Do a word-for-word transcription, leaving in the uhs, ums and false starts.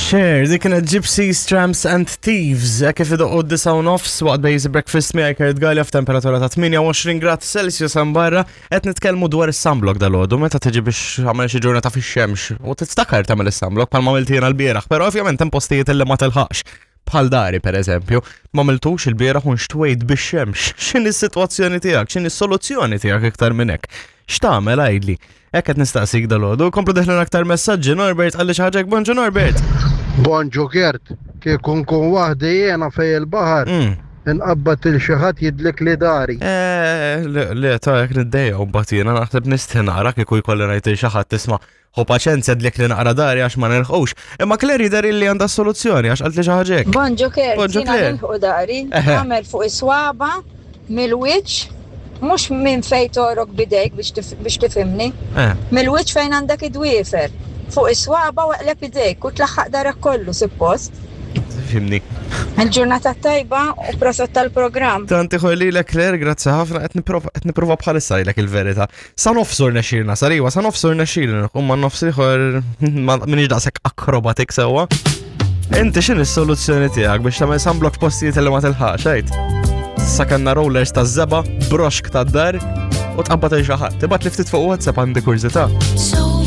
Cher, dik kienet Gypsies, Tramps and Thieves, eh, kif idoqqu d-disgħa u nofs waqt Bejzi Breakfast miegħi Kurt Galea f'temperatura ta' tmienja u għoxrin grad Celsius hemm barra. Qed nitkellmu dwar is-sunblock dalgħodu, meta tiġi biex tagħmel xi ġurnata fix-xemx u tiftakar tagħmel is-sunblock bħalma għamilt jiena l-bieraħ, però ovvjament hemm postijiet li ma tilħaqx. Bħal dari, per eżempju, ma għamiltux il-bieraħ u nxtwejt bix-xemx. X'inhi s-sitwazzjoni tiegħek? X'inhi s-soluzzjoni tiegħek iktar minn hekk? X'tagħmel, għidli? Hekk qed nistaqsik dalgħodu. Komplu deħlin aktar messaġġi. Norbert qalli xi ħaġa. Bonġu, Norbert. Bonġu Kert, kieku nkun waħdi jiena fejn il-baħar, Mm. inqabbad lil xi ħadd jidlikli dari. Eh, le, le, ta' jek niddejja u mbagħad jiena naħseb nistħi nara kieku jkolli ngħid lil xi ħadd, "Isma', ħu paċenzja, dlikli naqra dari għax ma nilħqux." Imma Claire jidher li għandha soluzzjoni għax qaltli xi ħaġa hekk. Bonġu Kert, Bonġu, jiena Claire. nilħu dari, Eħe. għamel fuq is-swaba mill-wiċċ, mhux minn fejn togħrok bidejk biex tif- biex tifhimni, Eh, mill-wiċċ fejn għandek id-dwiefer. Fuq is-swaba u eqleb idejk u tlaħħaq darek kollu suppost. Fhimni. Il-ġurnata tajba u prosit tal-programm. Tanti ħolli l Claire, grazzi ħafna, qed nipprova qed nipprova bħalissa ngħidlek il-verità. Sa nofsur nexxilna, sariwa, sa nofsur nexxilna, u ma nofs ieħor ma minix daqshekk akrobatik sewwa. Inti x'inhi s-soluzzjoni tiegħek biex tagħmel sunblock postijiet li ma tilħaqx, għid? Sa kellna rollers ta' żebgħa, broxk ta' dar u tqabbad xi ħadd. Tibgħat li ftit fuq WhatsApp, għandi kurżità. So